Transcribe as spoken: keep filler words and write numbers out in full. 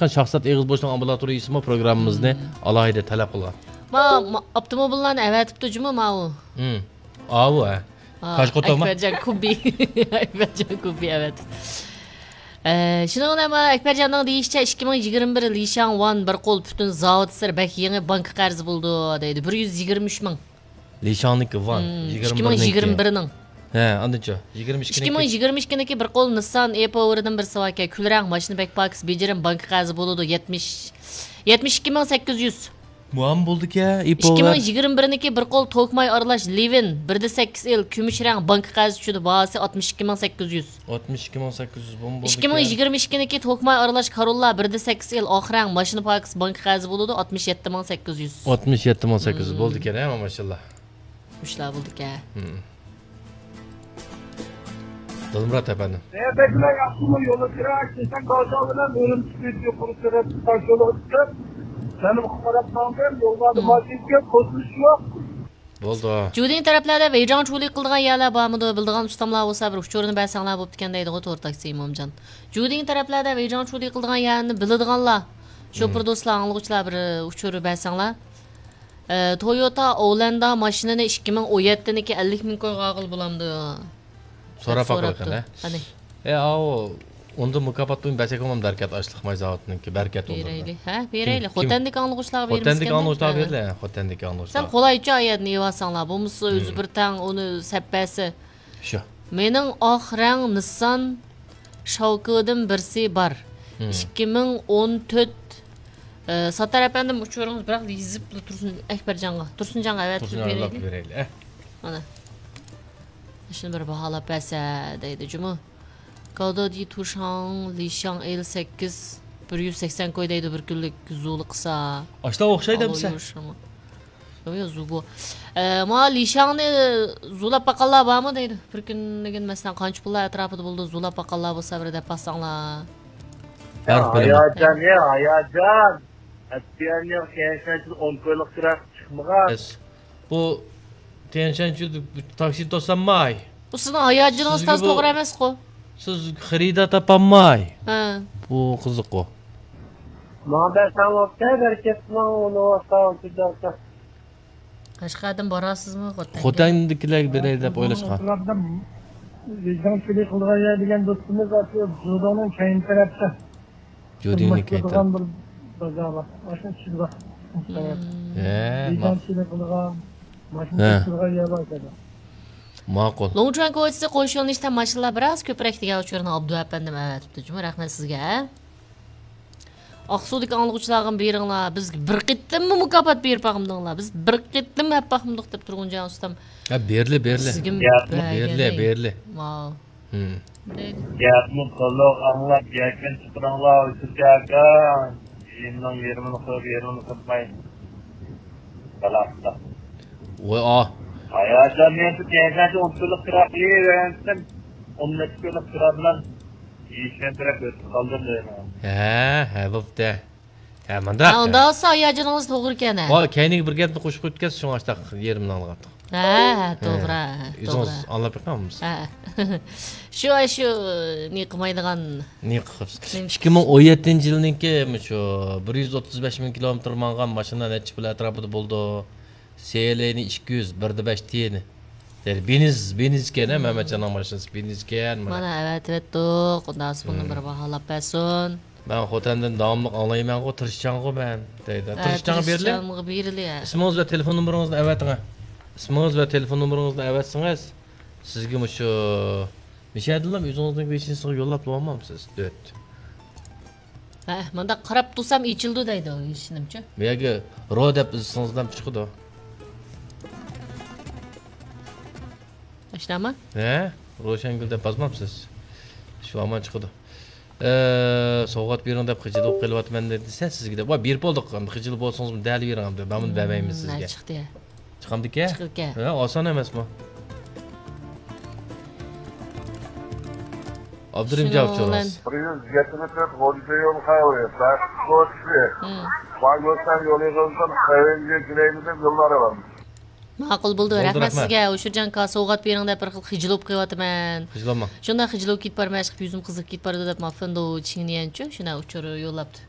شاھزات ئېغىزبوشنىڭ ئامبۇلاتورىيىسىمۇ پروگراممىمىزنى ئالاھىدە تەلەپ قىلغان. ما، ما، ئاپتوموبىللارنى ئەۋەتىپتۇ جۇمۇ ماۋۇ. ھىم. ئاۋۇ، ھە. ھا، كاشقوتوما؟ ئەكبەرجان كۇبى. ئەكبەرجان كۇبى ئەۋەتىپتۇ. ئە، شۇنىڭ بىلەن ما ئەكبەرجاننىڭ دېيىشىچە، ئىككى مىڭ يىگىرمە بىر لىشاڭ ۋان بىر قول پۈتۈن زاۋۇت سىر بەك يېڭى بانكا قەرزى بولىدۇ، دەيدۇ. بىر يۈز يىگىرمە ئۈچ مىڭ. لىشاڭنىڭكى ۋان، مم، يىگىرمە بىرنىڭكى. ئىككى مىڭ يىگىرمە بىرنىڭ. ھە، ئاندىنچۇ؟ يىگىرمە ئىككىنىڭكى. ئىككى مىڭ يىگىرمە ئىككىنىڭكى بىر قول نىسسان ئېپوۋېرىدىن بىر ساۋاكە، كۈلرەڭ ماشىنا بەك پاكىز، بېجىرىم بانكا قەرزى بولىدۇ، يەتمىش، يەتمىش ئىككى مىڭ سەككىز يۈز. مۇئام بولدىكەن، ئىككى مىڭ يىگىرمە بىرنىڭكى بىر قول توكماي ئارىلاش لىۋىن، بىر دە سەككىز ئېل، كۈمۈش رەڭ بانكا قەرزى چۈشىدۇ، باھاسى ئاتمىش ئىككى مىڭ سەككىز يۈز. ئاتمىش ئىككى مىڭ سەككىز يۈز بوم بولدى. ئىككى مىڭ يىگىرمە ئىككىنىڭكى توكماي ئارىلاش كاروللا بىر دە سەككىز ئېل ئاق رەڭ ماشىنا پاكىز بانكا قەرزى بولىدۇ، ئاتمىش يەتتە مىڭ سەككىز يۈز. ئاتمىش يەتتە مىڭ سەككىز يۈز مم. بولدىكەن، ھە، ماشاللا. مۇشۇلار بولدىكەن. مم. دىلمۇرات ئەپەندىم. بەكلا ياخشىمۇ يولى كىرا، كېسەك بازار بىلەن ئۈرۈمچى يۇقىرى سۈرئەتلىك تاش يولىغا چىقىپ، جەنۇبقا قاراپ ماڭدىم. يوللاردا مم. ماشىنا كۆپ، توسۇلۇش يوق. بولدى. جۇدىن تەرەپلەردە ۋېيجاڭچۇلى قىلىدىغان يەرلەر بارمىدۇ؟ بىلىدىغان ئۇستاملار بولسا، بىر ئۇچۇرنى بەرسەڭلار بوپتىكەن دەيدىغۇ تور تاكسى ئىمامجان. جۇدىن تەرەپلەردە ۋېيجاڭچۇلى قىلىدىغان يەرنى بىلىدىغانلار، شوپۇر دوستلار، ئاڭلىغۇچىلار بىر ئۇچۇر بەرسەڭلار. ئە، تويوتا ئوۋلەندا ماشىنىنى ئىككى مىڭ ئون يەتتىنىڭكى ئەللىك مىڭ كويغا ئالغىلى بولامدۇ؟ سوراپ دەپ باقىلى سوراپتۇ. قېنى. قېنى. ئەي، ئاۋۇ، ئۇندا مۇكاپات پۇلىنى بەرسەكمۇ دەركار، ئاشلىق ماي زاۋۇتىنىڭكى بەرىكەت ئۇندا. بېرەيلى، ھە، بېرەيلى. كىم، كىم؟ خوتەندىكى ئاڭلىغۇچىلارغا بېرىمىز خوتەندىكى ئاڭلىغۇچىلارغا بېرىلە، خوتەندىكى ئاڭلىغۇچىلارغا. سەن قولايچە ئايەتنى يېۋالساڭلار، بولمىسا ئۆزى بىر تەڭ ئۇنى سەپ بەرسە. شۇ. مېنىڭ ئاق رەڭ نىسسان شاۋكىدىن بىرسى بار. ئىككى مىڭ ئون تۆت، ئە، ساتار ئەپەندىم، ئۇچۇرىڭىز بىراق يېزىپلا تۇرسۇن ئەكبەرجانغا، تۇرسۇنجانغا ئەۋەتىپ بېرەيلى. بېرەيلى، ئە. مانا. شۇنى بىر باھالاپ بەرسە دەيدۇ جۇمۇ. گاۋدادى تۇشاڭ لىشاڭ ئېل سەككىز، بىر يۈز سەكسەن كوي دەيدۇ بىر كۈنلۈك زۇلۇ قىلسا. ئاشۇلارغا ئوخشايدۇ ئەمىسە. يو، يو، زۇبۇ. ئە، ما لىشاڭنى زۇلاپ باققانلار بارمۇ دەيدۇ. بىر كۈنلۈكىنى مەسىلەن قانچە پۇللار ئەتراپىدا بولىدۇ، زۇلاپ باققانلار بولسا بىر دەپ باسساڭلار. ھە، ھاياجان، ھە، ھاياجان. ئەتىگەننىڭ كەينىڭ ئون كويلۇق كىرا چىقمىغان. بۇ تيەنشەنچۈ تاكسى توسالماي. بۇ سىزنىڭ ھاياجىنىڭىز سىزگە تازا بۇ، توغرا ئەمەسقۇ. سىز خېرىدار تاپالماي. ھە. بۇ قىزىققۇ. ماڭا بەرسەڭ بوپتۇ، بەرىكەتلىك، ئۇنى ۋاستا ئۇنچە قەشقەردىن باراسىزمۇ خوتەنگە؟ خوتەندىكىلەرگە بېرەي دەپ ئويلاشقان. ۋىجدان چىلى قىلىدىغان يەر دېگەن دوستىمىز ئاشۇ جۇدۇڭنىڭ كەينى تەرەپتە. جۇدىنىڭ كەينى تەرەپتە. بىر بازار بار. ئاشۇ ئىچىدە بار. ھە، ۋىجدان چىلى قىلىدىغان، ماشىنا توشۇيدىغان يەر بار ئىكەن. ماقۇل. لوڭچۈەن كوچىسى قوش يۆنىلىشتە ماشىنىلار بىراز كۆپرەك دېگەن ئۇچۇرنى ئابدۇ ئەپەندىم ئەۋەتىپتۇ جۇمۇ. رەھمەت سىزگە. ئاقسۇدىكى ئاڭلىغۇچىلارغىمۇ بېرىڭلار، بىز بىر قېتىممۇ مۇكاپات بېرىپ باقمىدىڭلار، بىز بىر قېتىم ھەپ باقمىدۇق دەپ تۇرغۇن جان ئۇستام. ھە، بېرىلە، بېرىلە. سىزگىمۇ بېرىلە، بېرىلە. ماۋ. گەپنى تولۇق ئاڭلاپ يەكۈن چىقىرىڭلار، ئۇيسۇلجان ئاكا. يېرىمنىڭ يېرىمىنى قويۇپ، يېرىمىنى قىلماي. بالاختا. ۋاي، ئا. ھاياجان مېنى كەينىدىن ئون كۈنلۈك كىرا قىلىۋەرسىن. ئون نەچچە كۈنلۈك كىرا بىلەن يېشىلتىرەپ ئۆتۈپ قالدىم دەيمەن. ھە، ھە، بوپتۇ. ھە، مانداق. ھە، ئۇنداق بولسا ھاياجىنىڭىز توغرا ئىكەن، ھە. ۋاي، كەينىگە بىر گەپنى قوشۇپ قويۇپتىكەنسىز، شۇڭا ئاشتاق يېرىمنى ئاڭلىغانتۇق. ھە، ھە، توغرا، ھە، ئۆزىڭىز توغرا. ئاڭلاپ بېقىڭ بولمىسا. ھە. شۇ، شۇ، نېمە قىلمايدىغان. نېمە قىلىپسىز؟ نېمە؟ ئىككى مىڭ ئون يەتتىنچى يىلنىڭكى شۇ بىر يۈز ئوتتۇز بەش مىڭ كىلومېتىر ماڭغان ماشىنا نەچچە پۇل ئەتراپىدا بولىدۇ؟ سېلىنى ئىككى يۈز، بىر دە بەش تىيىنى. يەنى بېنز، بېنز ئىكەن، ھە، مەمەتجاننىڭ ماشىنىسى بېنز ئىكەن، مانا. مانا ئەۋەتىۋەتتۇق، ئۇنداق بولسا بۇنى بىر باھالاپ بەرسۇن. مەن خوتەندىن داۋاملىق ئاڭلايمەنغۇ، تىرىشچانغۇ مەن، دەيدۇ. ھە، تىرىشچانغا بېرىلە. تىرىشچانغا بېرىلە. ئىسمىڭىز ۋە تېلېفون نومۇرىڭىزنى ئەۋەتىڭە. ئىسمىڭىز ۋە تېلېفون نومۇرىڭىزنى ئەۋەتسىڭىز، سىزگە مۇشۇ مىشەدىنلا ئۆزىڭىزنىڭ ۋېچىنىسىغا يوللاپ بولالمامسىز؟ دۆت. ھە، مۇنداق قاراپ تۇرسام ئېچىلىدۇ دەيدۇ، ھېچنېمىچۇ. بۇ يەرگە رو دەپ ئىزدىسىڭىزلا چىقىدۇ. ئاشۇنداقمۇ؟ ھە، روشەنگۈل دەپ بازمامسىز؟ شۇ ھامان چىقىدۇ. ئە، سوۋغات بېرىڭ دەپ خىجىل بولۇپ قېلىۋاتىمەن دېسە سىزگە دەپ. ۋاي، بېرىپ بولدۇق، ئەمدى خىجىل بولسىڭىزمۇ دەل بېرىڭ ئەمدى. مەنمۇ بەرمەيمەن سىزگە. چىقتى. چىقامدىكەن؟ چىقىدىكەن. ھە، ئاسان ئەمەسمۇ؟ ئابدۇرېھىم جاۋاب چوراس. بىر يۈز يەتمىش تۆت غوجىدە يول خەۋىرى، بەخت كوچىسى، باگوستان يولى قىلسۇن، خەۋەرگە كېلەيلى دەپ يوللار ئالامىز. ماقۇل بولدى، رەھمەت سىزگە. ئۇشۇرجان ئاكا، سوۋغات بېرىڭ دەپ بىر خىل خىجىل بولۇپ قېلىۋاتىمەن. خىجىل بولما. شۇنداق خىجىل بولۇپ كېتىپ بارمەن، ئىشقىلىپ يۈزۈم قىزىپ كېتىپ بارىدۇ دەپ، مافىندو چىڭنيەنچۇ شۇنداق ئۇچۇر يوللاپتۇ.